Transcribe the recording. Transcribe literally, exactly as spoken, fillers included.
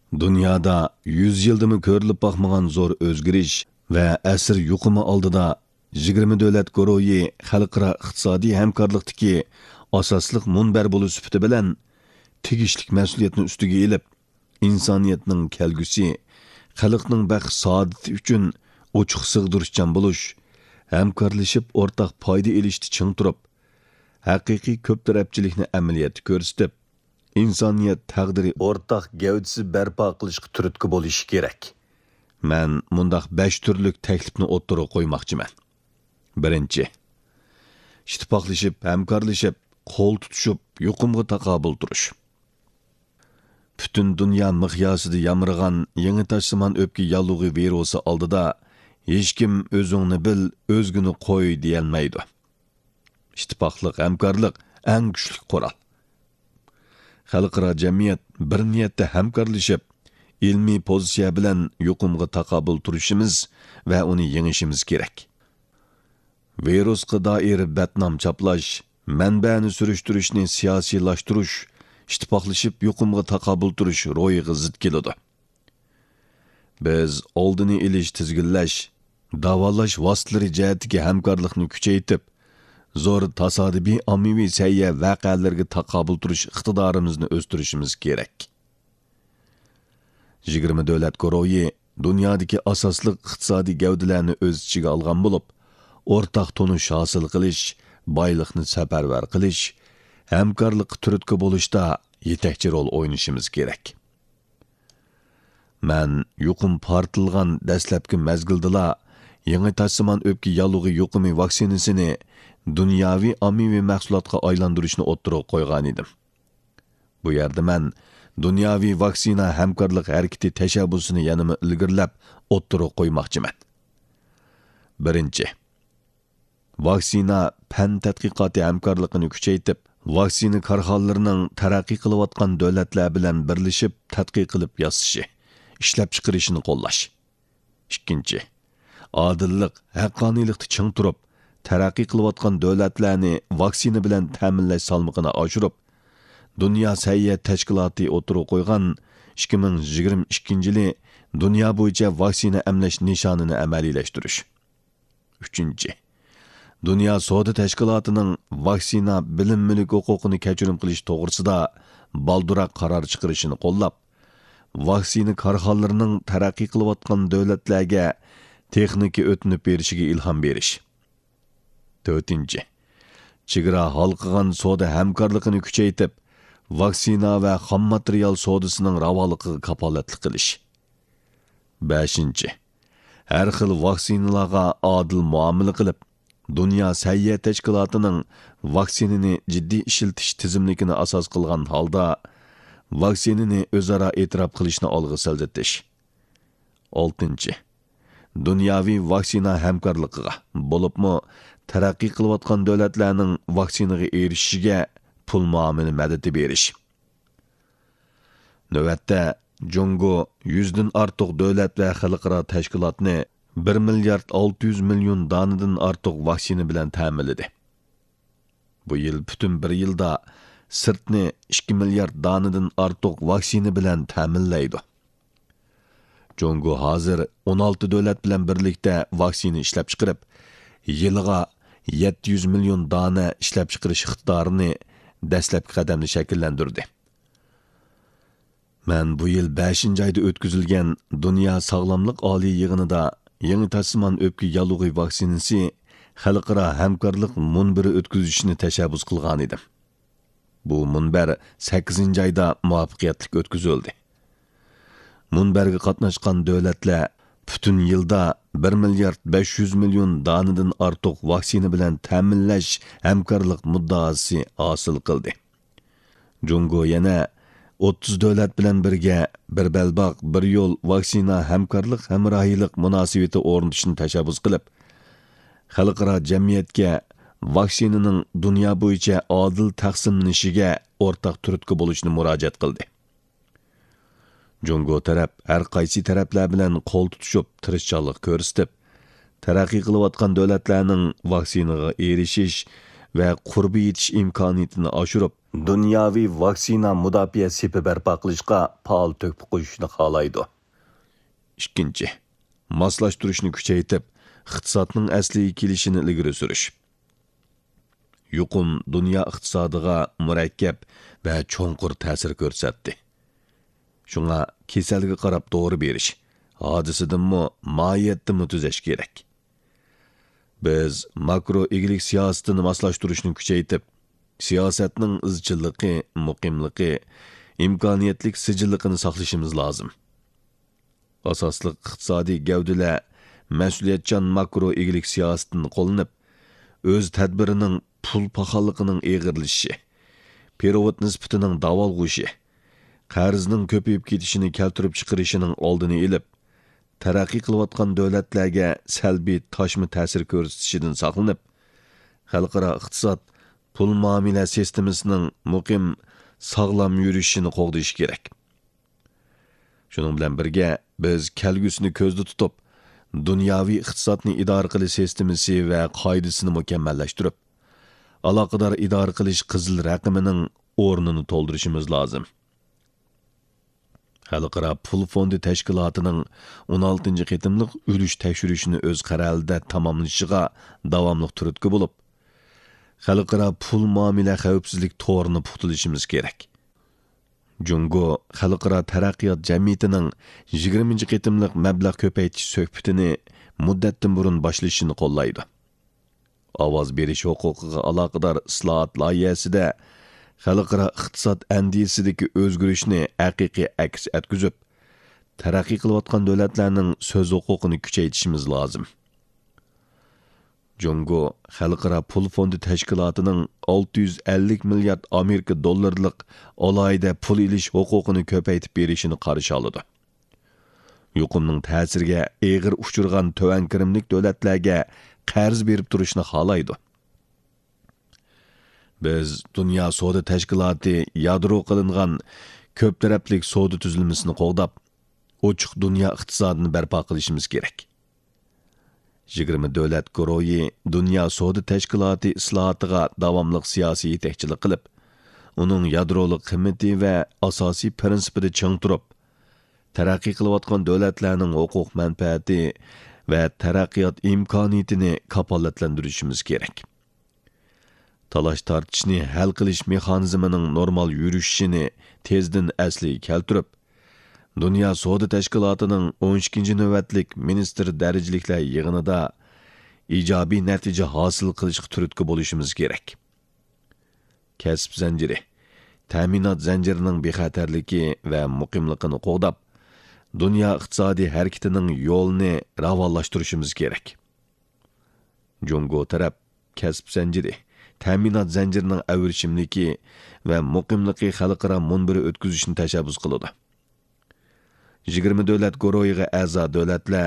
دۇنيادا يۈز يىلدىمۇ كۆرۈلۈپ باقمىغان زور ئۆزگىرىش ۋە ئەسىر يۇقۇمى ئالدىدا، يىگىرمە دۆلەت گۇرۇھى خەلقئارا ئىقتىسادىي ھەمكارلىقتىكى ئاساسلىق مۇنبەر بولۇش سۈپىتى بىلەن تېگىشلىك مەسئۇلىيەتنى ئۈستىگە ئېلىپ، ئىنسانىيەتنىڭ كەلگۈسى، خەلقنىڭ بەخت-سائادىتى ئۈچۈن ئوچۇق سىغدۇرۇشچان بولۇش، ھەمكارلىشىپ ئورتاق پايدا ئېلىشتا چىڭ تۇرۇپ، ھەقىقىي كۆپ تەرەپچىلىكنى ئەمەلىيەتتە كۆرسىتىپ، ئىنسانىيەت تەقدىرى ئورتاق گەۋدىسى بەرپا قىلىشقا تۈرتكە بولۇشى كېرەك. مەن مۇنداق بەش تۈرلۈك تەكلىپنى ئوتتۇرىغا قويماقچىمەن. بىرىنچى، ئىتتىپاقلىشىپ، ھەمكارلىشىپ، قول تۇتۇشۇپ، يۇقۇمغا تاقابىل تۇرۇش. پۈتۈن دۇنيا مىقياسىدا يامرىغان يېڭى تاشسىمان ئۆپكە ياللۇغى ۋىرۇسى ئالدىدا ھېچكىم «ئۆزۈڭنى بىل، ئۆزگىنى قوي» دېيەلمەيدۇ. ئىتتىپاقلىق، ھەمكارلىق ئەڭ كۈچلۈك قورال. خەلقئارا جەمئىيەت بىر نىيەتتە ھەمكارلىشىپ، ئىلمىي پوزىتسىيە بىلەن يۇقۇمغا تاقابىل تۇرۇشىمىز ۋە ئۇنى يېڭىشىمىز كېرەك. ۋىرۇسقا دائىر بەتنام چاپلاش، مەنبەنى سۈرۈشتۈرۈشنى سىياسىيلاشتۇرۇش، ئىتتىپاقلىشىپ يۇقۇمغا تاقابىل تۇرۇش روھىغا زىت كېلىدۇ. بىز ئالدىنى ئېلىش، تىزگىنلەش، داۋالاش ۋاسىتىلىرى جەھەتتىكى ھەمكارلىقنى كۈچەيتىپ، زور تاسادىپىي ئاممىۋى سەھىيە ۋەقەلىرىگە تاقابىل تۇرۇش ئىقتىدارىمىزنى ئۆستۈرۈشىمىز كېرەك. يىگىرمە دۆلەت گۇرۇھى دۇنيادىكى ئاساسلىق ئىقتىسادىي گەۋدىلەرنى ئۆز ئىچىگە ئالغان بولۇپ، ئورتاق تونۇش ھاسىل قىلىش، بايلىقنى سەپەرۋەر قىلىش، ھەمكارلىققا تۈرتكە بولۇشتا يېتەكچى رول ئوينىشىمىز كېرەك. مەن يۇقۇم پارتلىغان دەسلەپكى مەزگىلدىلا يېڭى تاشسىمان ئۆپكە ياللۇغى يۇقۇمى ۋاكسىنىسىنى دۇنياۋى ئاممىۋى مەھسۇلاتقا ئايلاندۇرۇشنى ئوتتۇرىغا قويغانىدىم. بۇ يەردە مەن دۇنياۋى ۋاكسىنا ھەمكارلىق ھەرىكىتى تەشەببۇسىنى يەنىمۇ ئىلگىرىلەپ ئوتتۇرىغا قويماقچىمەن. بىرىنچى، ۋاكسىنا پەن تەتقىقاتى ھەمكارلىقىنى كۈچەيتىپ، ۋاكسىنا كارخانىلىرىنىڭ تەرەققىي قىلىۋاتقان دۆلەتلەر بىلەن بىرلىشىپ تەتقىق قىلىپ ياسىشى، ئىشلەپچىقىرىشىنى قوللاش. ئىككىنچى، ئادىللىق، ھەققانىيلىقتا چىڭ تۇرۇپ، تەرەققىي قىلىۋاتقان دۆلەتلەرنى ۋاكسىنا بىلەن تەمىنلەش سالمىقىنى ئاشۇرۇپ، دۇنيا سەھىيە تەشكىلاتى ئوتتۇرىغا قويغان ئىككى مىڭ يىگىرمە ئىككىنچى يىلى دۇنيا بويىچە ۋاكسىنا ئەملەش نىشانىنى ئەمەلىيلەشتۈرۈش. ئۈچىنچى، دۇنيا سودا تەشكىلاتىنىڭ ۋاكسىنا بىلىم مۈلۈك ھوقۇقىنى كەچۈرۈم قىلىش توغرىسىدا بالدۇراق قارار چىقىرىشىنى قوللاپ، ۋاكسىنا كارخانىلىرىنىڭ تەرەققىي قىلىۋاتقان دۆلەتلەرگە تېخنىكا ئۆتۈنۈپ بېرىشىگە ئىلھام بېرىش. تۆتىنچى، چېگرا ھالقىغان سودا ھەمكارلىقىنى كۈچەيتىپ، ۋاكسىنا ۋە خام ماتېرىيال سودىسىنىڭ راۋانلىقىغا كاپالەتلىك قىلىش. بەشىنچى، ھەر خىل ۋاكسىنىلارغا ئادىل مۇئامىلە قىلىپ، دۇنيا سەھىيە تەشكىلاتىنىڭ ۋاكسىنىنى جىددىي ئىشلىتىش تىزىملىكىنى ئاساس قىلغان ھالدا، ۋاكسىنىنى ئۆزئارا ئېتىراپ قىلىشنى ئالغا سىلجىتىش. ئالتىنچى، دۇنياۋى ۋاكسىنا ھەمكارلىقىغا، بولۇپمۇ تەرەققىي قىلىۋاتقان دۆلەتلەرنىڭ ۋاكسىنىغا ئېرىشىشىگە پۇل مۇئامىلە مەدىتى بېرىش. نۆۋەتتە، جۇڭگو يۈزدىن ئارتۇق دۆلەت ۋە خەلقئارا تەشكىلاتنى بىر مىليارد ئالتە يۈز مىليون دانىدىن ئارتۇق ۋاكسىنا بىلەن تەمىنلىدى. بۇ يىل پۈتۈن بىر يىلدا سىرتنى ئىككى مىليارد دانىدىن ئارتۇق ۋاكسىنا بىلەن تەمىنلەيدۇ. جۇڭگو ھازىر ئون ئالتە دۆلەت بىلەن بىرلىكتە ۋاكسىنا ئىشلەپچىقىرىپ، يىلىغا يەتتە يۈز مىليون دانە ئىشلەپچىقىرىش ئىقتىدارىنى دەسلەپكى قەدەمدە شەكىللەندۈردى. مەن بۇ يىل بەشىنچى ئايدا ئۆتكۈزۈلگەن دۇنيا ساغلاملىق ئالىي يىغىنىدا يېڭى تاشسىمان ئۆپكە ياللۇغى ۋاكسىنىسى خەلقئارا ھەمكارلىق مۇنبىرى ئۆتكۈزۈشنى تەشەببۇس قىلغانىدىم. بۇ مۇنبەر سەككىزىنچى ئايدا مۇۋەپپەقىيەتلىك ئۆتكۈزۈلدى. مۇنبەرگە قاتناشقان دۆلەتلەر پۈتۈن يىلدا بىر مىليارد بەش يۈز مىليون دانىدىن ئارتۇق ۋاكسىنا بىلەن تەمىنلەش ھەمكارلىق مۇددىئاسى ھاسىل قىلدى. جۇڭگو يەنە ئوتتۇز دۆلەت بىلەن بىرگە بىر بەلباغ، بىر يول ۋاكسىنا ھەمكارلىق ھەمراھىيلىق مۇناسىۋىتى ئورنىتىشنى تەشەببۇس قىلىپ، خەلقئارا جەمئىيەتكە ۋاكسىنىنىڭ دۇنيا بويىچە ئادىل تەقسىملىنىشىگە ئورتاق تۈرتكە بولۇشنى مۇراجىئەت قىلدى. جۇڭگو تەرەپ ھەر قايسى تەرەپلەر بىلەن قول تۇتۇشۇپ، تىرىشچانلىق كۆرسىتىپ، تەرەققىي قىلىۋاتقان دۆلەتلەرنىڭ ۋاكسىنىغا ئېرىشىش ۋە قۇربى يېتىش ئىمكانىيىتىنى ئاشۇرۇپ، دۇنياۋى ۋاكسىنا مۇداپىئە سېپى بەرپا قىلىشقا پائال تۆھپە قوشۇشنى خالايدۇ. ئىككىنچى، ماسلاشتۇرۇشنى كۈچەيتىپ، ئىقتىسادنىڭ ئەسلىگە كېلىشىنى ئىلگىرى سۈرۈش. يۇقۇم دۇنيا ئىقتىسادىغا مۇرەككەپ ۋە چوڭقۇر تەسىر كۆرسەتتى. شۇڭا كېسەلگە قاراپ دورا بېرىش، ھادىسىدىنمۇ، ماھىيەتتىنمۇ تۈزەش كېرەك. بىز ماكرو ئىگىلىك سىياسىتىنى ماسلاشتۇرۇشنى كۈچەيتىپ، سىياسەتنىڭ ئىزچىللىقى، مۇقىملىقى، ئىمكانىيەتلىك سىجىللىقىنى ساقلىشىمىز لازىم. ئاساسلىق ئىقتىسادىي گەۋدىلەر مەسئۇلىيەتچان ماكرو ئىگىلىك سىياسىتىنى قوللىنىپ، ئۆز تەدبىرىنىڭ پۇل پاخاللىقىنىڭ ئېغىرلىشىشى، پېرېۋوت نىسبىتىنىڭ داۋالغۇشى، قەرزنىڭ كۆپىيىپ كېتىشىنى كەلتۈرۈپ چىقىرىشىنىڭ ئالدىنى ئېلىپ، تەرەققىي قىلىۋاتقان دۆلەتلەرگە سەلبىي تاشما تەسىر كۆرسىتىشىدىن ساقلىنىپ، خەلقئارا ئىقتىساد، پۇل مۇئامىلە سىستېمىسىنىڭ مۇقىم، ساغلام يۈرۈشىنى قوغدىشى كېرەك. شۇنىڭ بىلەن بىرگە، بىز كەلگۈسىنى كۆزدە تۇتۇپ، دۇنياۋى ئىقتىسادنى ئىدارە قىلىش سىستېمىسى ۋە قائىدىسىنى مۇكەممەللەشتۈرۈپ، ئالاقىدار ئىدارە قىلىش قىزىل رەقىمىنىڭ ئورنىنى تولدۇرۇشىمىز لازىم. خەلقئارا پۇل فوندى تەشكىلاتىنىڭ ئون ئالتىنچى قېتىملىق ئۈلۈش تەكشۈرۈشىنى ئۆز قەرەلىدە تاماملىشىغا داۋاملىق تۈرتكە بولۇپ، خەلقئارا پۇل مۇئامىلە خەۋپسىزلىك تورىنى پۇختىلىشىمىز كېرەك. جۇڭگو خەلقئارا تەرەققىيات جەمئىيىتىنىڭ يىگىرمىنچى قېتىملىق مەبلەغ كۆپەيتىش سۆھبىتىنى مۇددەتتىن بۇرۇن باشلىشىنى قوللايدۇ. ئاۋاز بېرىش ھوقۇقىغا ئالاقىدار ئىسلاھات لايىھەسىدە خەلقئارا ئىقتىساد ئەندىزىسىدىكى ئۆزگىرىشنى ھەقىقىي ئەكس ئەتكۈزۈپ، تەرەققىي قىلىۋاتقان دۆلەتلەرنىڭ سۆز ھوقۇقىنى كۈچەيتىشىمىز لازىم. جۇڭگو خەلقئارا پۇل فوندى تەشكىلاتىنىڭ ئالتە يۈز ئەللىك مىليارد ئامېرىكا دوللىرىلىق ئالاھىدە پۇل ئېلىش ھوقۇقىنى كۆپەيتىپ بېرىشىنى قارشى ئالىدۇ. يۇقۇمنىڭ تەسىرىگە ئېغىر ئۇچرىغان تۆۋەن كىرىملىك دۆلەتلەرگە قەرز بېرىپ تۇرۇشنى خالايدۇ. بىز دۇنيا سودا تەشكىلاتى يادرو قىلىنغان كۆپ تەرەپلىك سودا تۈزۈلمىسىنى قوغداپ، ئوچۇق دۇنيا ئىقتىسادىنى بەرپا قىلىشىمىز كېرەك. يىگىرمە دۆلەت گۇرۇھى دۇنيا سودا تەشكىلاتى ئىسلاھاتىغا داۋاملىق سىياسىي يېتەكچىلىك قىلىپ، ئۇنىڭ يادرولۇق قىممىتى ۋە ئاساسىي پىرىنسىپىدا چىڭ تۇرۇپ، تەرەققىي قىلىۋاتقان دۆلەتلەرنىڭ ھوقۇق مەنپەئەتى ۋە تەرەققىيات ئىمكانىيىتىنى كاپالەتلەندۈرۈشىمىز كېرەك. تالاش-تارتىشنى ھەل قىلىش مېخانىزمىنىڭ نورمال يۈرۈشۈشىنى تېزدىن ئەسلىگە كەلتۈرۈپ، دۇنيا سودا تەشكىلاتىنىڭ ئون ئىككىنچى نۆۋەتلىك مىنىستىر دەرىجىلىكلەر يىغىنىدا ئىجابىي نەتىجە ھاسىل قىلىشقا تۈرتكە بولۇشىمىز كېرەك. كەسىپ زەنجىرى، تەمىنات زەنجىرىنىڭ بىخەتەرلىكى ۋە مۇقىملىقىنى قوغداپ، دۇنيا ئىقتىسادىي ھەرىكىتىنىڭ يولىنى راۋانلاشتۇرۇشىمىز كېرەك. جۇڭگو تەرەپ كەسىپ زەنجىرى، تەمىنات زەنجىرىنىڭ ئەۋرىشىملىكى ۋە مۇقىملىقى خەلقئارا مۇنبىرى ئۆتكۈزۈشنى تەشەببۇس قىلىدۇ. يىگىرمە دۆلەت گۇرۇھىغا ئەزا دۆلەتلەر